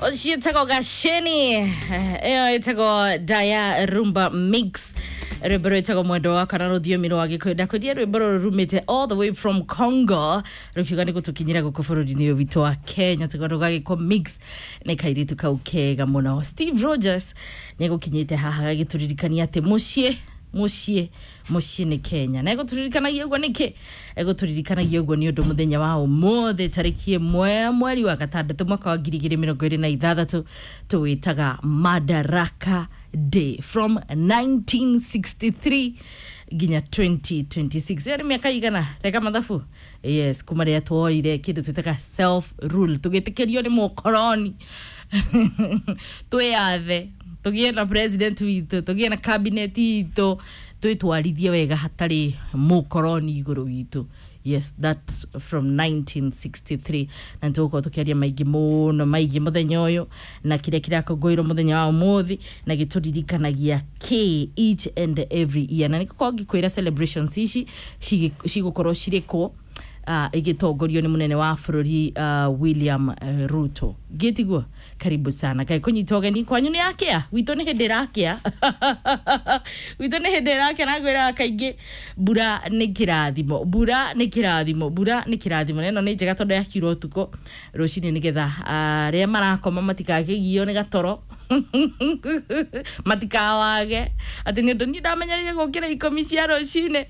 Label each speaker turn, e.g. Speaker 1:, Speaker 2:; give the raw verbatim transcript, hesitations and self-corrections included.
Speaker 1: Ũcio Gaceni, ĩyo ĩtagwo Daya Rumba Mix, rwĩmbo rwĩtagwo Mwendo Wakwa na rũthiomi rwa Gĩkũyũ. Ndakwĩria rwĩmbo rũrũ rumĩte all the way from Congo, rũkiuga nĩ gũtũkinyĩra gũkũ bũrũri-inĩ ũyũ witũ wa Kenya, tũkorwo gagĩkwo mix nĩ kairĩtu kau kega mũno. Steve Rogers nĩ egũkinyĩte haha gagĩtũririkania atĩ mũciĩ mũciĩ mũciĩ nĩ Kenya, na egũtũririkanagia ũguo nĩkĩ? Egũtũririkanagia ũguo nĩ ũndũ mũthenya wa ũmũthĩ, tarĩki ĩmwe mweri wa gatandatũ mwaka wa ngiri igĩrĩ mĩrongo ĩrĩ na ithathatũ, tũwĩtaga Madaraka Day from nineteen sixty-three nginya twenty twenty-six. Ĩyo nĩ mĩaka igana reka mathabu. Yes, kuma rĩrĩa tuoire kĩndũ twĩtaga self rule, tũgĩtĩkĩrio nĩ mũkoroni twĩyathe, tũgĩe na president witũ, tũgĩe na cabinet itũ, twĩtwarithie wega hatarĩ mũkoroni igũrũ witũ. Yes, that's from nineteen sixty-three, na nĩ tũgũkorwo tũkĩaria maingĩ mũno maingĩ mũthenya ũyũ na kĩrĩa kĩrakũngũĩrwo mũthenya wa ũmũthĩ na gĩtũririkanagia k each and every year. Na nĩgũkorwo ngĩkwĩra celebrations ici cigĩ- cigũkorwo cirĩ kũ, uh, igĩtongorio nĩ mũnene wa bũrũri uh, William uh, Ruto. Gĩtiguo karibu sana kaĩ kũnyita ũgeni kwanyu. Nĩ yakĩa? Gwitũ nĩ hĩndĩ ĩrakĩa, gwitũ nĩ hĩndĩ ĩrakĩa. Na ngwĩraga kaingĩ, mbura nĩ kĩrathimo, mbura nĩ kĩrathimo, mbura nĩ kĩrathimo. Na ĩno nĩ njega tondũ yakiura ũtukũ, rũcinĩ nĩgetha arĩa marakoma matikakĩgio nĩ gatoro, matikawage atĩ nĩ ũndũ niĩ ndamenyerire gũkĩra ikũmi cia rũcinĩ.